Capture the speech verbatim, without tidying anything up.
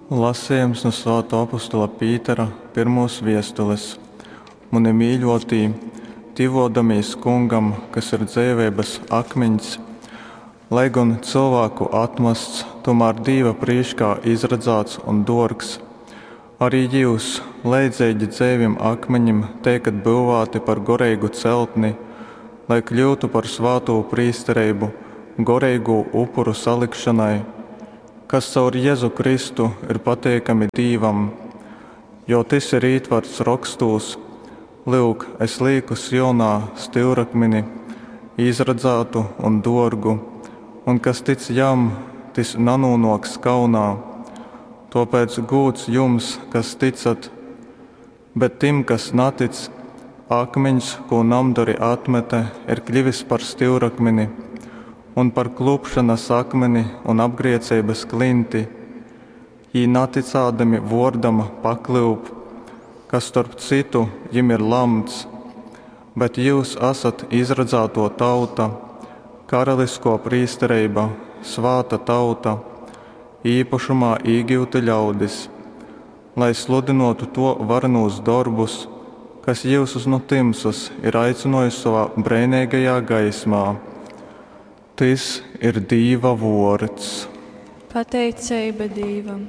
Lasejums nu Svātuo apostola Pītera pyrmuos viestules. Muni mīļuotī, tyvuodamīs Kungam, kas ir dzeiveibys akmiņs, lai gon cylvāku atmasts, tūmār Dīva prīškā izradzāts un duorgs, ari jius, leidzeigi dzeivim akminim, teikat byuvāti par goreigu celtni, lai kļyutu par svātū prīstereibu goreigū upuru salikšonai, kas caur Jezu Kristu ir pateikami Dīvam. Jo tys ir ītvarts Rokstūs, Lyuk, es līku Sionā styurakmini, izradzātu un duorgu, un kas tic jam, tys nanūnuoks kaunā. Tuopēc gūds jums, kas tycat, bet tim, kas natic, akmiņs, kū namdori atmete, ir kļivis par styurakmini un par klupšonas akmini un apgrieceibys klinti. Jī natycādami vuordam paklyup, kas, storp cytu, jim ir lamts. Bet jyus asat izradzātuo tauta, karaliskuo prīstereiba, svāta tauta, īpašumā īgyuti ļaudis, lai sludynuotu Tuo varenūs dorbus, kas jyusus nu tymsas ir aicynuojis sovā breineigajā gaismā. Tys ir Dīva vuords. Pateiceiba Dīvam.